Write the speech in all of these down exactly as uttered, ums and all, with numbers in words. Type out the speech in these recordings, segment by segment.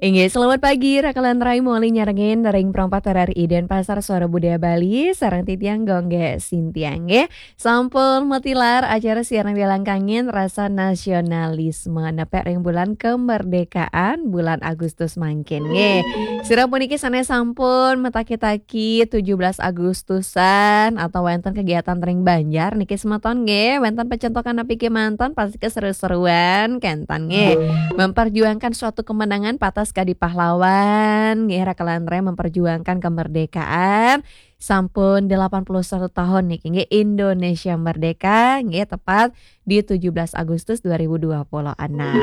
Inggih, selamat pagi, Raka lan Rai, muli nyarengin ring Perempat R R I Denpasar, Suara Budaya Bali, sareng titiang Gung Gé Sintia, nggih. Sampun matilar acara siaran Wilang Kangin Rasa Nasionalisme, nepek ring bulan kemerdekaan, bulan Agustus mangkin, nggih. Sira puniki sané sampun mataki-taki tujuh belas Agustusan atau wénten kegiatan ring Banjar niki semeton, nggih, wénten pecentokan napi kémanten, pasti keseru-seruan kénten, nggih. Memperjuangkan suatu kemenangan patas kadi pahlawan, nggih, Raka lan Rai, memperjuangkan kemerdekaan. Sampun delapan puluh satu tahun niki, nggih, Indonesia merdeka, nggih, tepat di tujuh belas Agustus dua ribu dua puluh enam.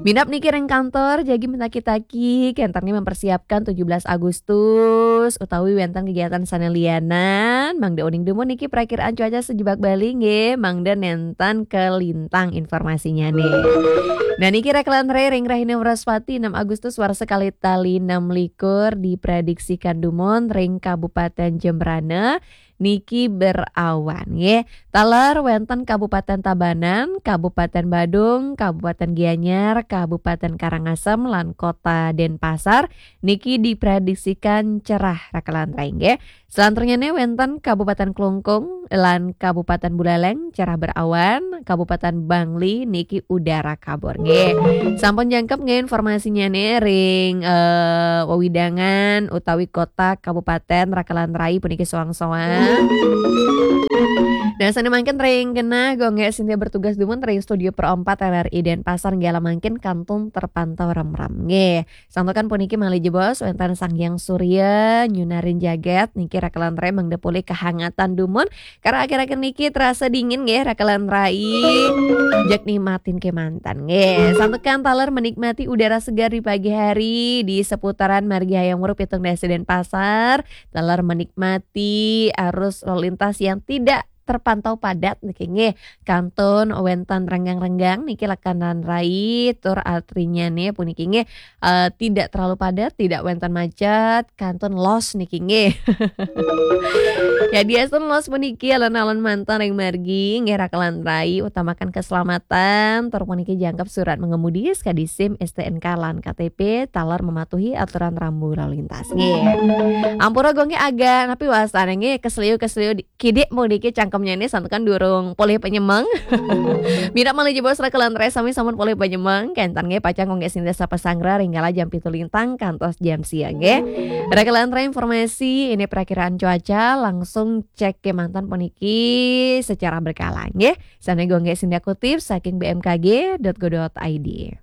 Minab niki ring kantor, jagi mataki-taki, kénten nggih, mempersiapkan tujuh belas Agustus, utawi wénten kegiatan sané lianan, mangda uning dumun niki prakiraan cuaca sajebag Bali, nggih, mangda nénten kalintang informasinyané. Nah, niki Raka lan Rai, ring rahina Wraspati, enam Agustus warsa kalih tali enam likur, diprediksikan dumun ring Kabupaten Jembrana niki berawan, nggih. Taler wénten Kabupaten Tabanan, Kabupaten Badung, Kabupaten Gianyar, Kabupaten Karangasem, lan Kota Denpasar niki diprediksikan cerah, Raka lan Rai, nggih. Selanturnyané wénten Kabupaten Klungkung lan Kabupaten Buleleng cerah berawan, Kabupaten Bangli niki udara kabur, nggih. Sampun jangkep, nggih, informasinyané ring, eh, wewidangan utawi kota kabupaten Raka lan Rai puniki soang-soang. Nah, sané mangkin ring genah Gung Gé Sintia bertugas dumun ring studio Pro empat R R I Denpasar, nggih, ala mangkin kantun terpantau remrem, nggih. Santukan puniki malih jebos wénten Sang Hyang Surya nyunarin jagat niki, Raka lan Rai, mangda polih kahangatan dumun. Karena akhir-akhir niki terasa dingin, nggih, Raka lan Rai. Jeg nikmatin kémanten, nggih. Santukan taler menikmati udara segar di pagi hari di seputaran Margi Hayam Wuruk pitung dasa Denpasar. Taler menikmati arus lalu lintas yang tidak terpantau padat niki, nggih. Kantun wénten renggang-renggang niki, Raka lan Rai, tur artinyané puniki, nggih, eh, tidak terlalu padat, tidak wénten macet, kantun los niki, nggih. Ya, diastun los puniki alon-alon manten ring margi, nggih, Raka lan Rai, utamakan keselamatan, tur puniki jangkep surat mengemudi, sakadi SIM, STNK, lan KTP, taler mematuhi aturan rambu lalu lintas, nggih. Ampura Gung Gé, agak napi wastané, nggih, kesleo-kesleo di kidik puniki cangkemnyané, santukan durung polih panyemeng. Minab malih jebos Raka lan Rai, sami sampun polih panyemeng, kénten, nggih, pacang Gung Gé Sintia sapa sanggra ring kala jam pitu lintang kantos jam sia, nggih. Raka lan Rai, informasi ini perakiraan cuaca, langsung cek kémanten puniki secara berkala, nggih. Sané Gung Gé Sintia kutip saking B M K G dot go dot I D.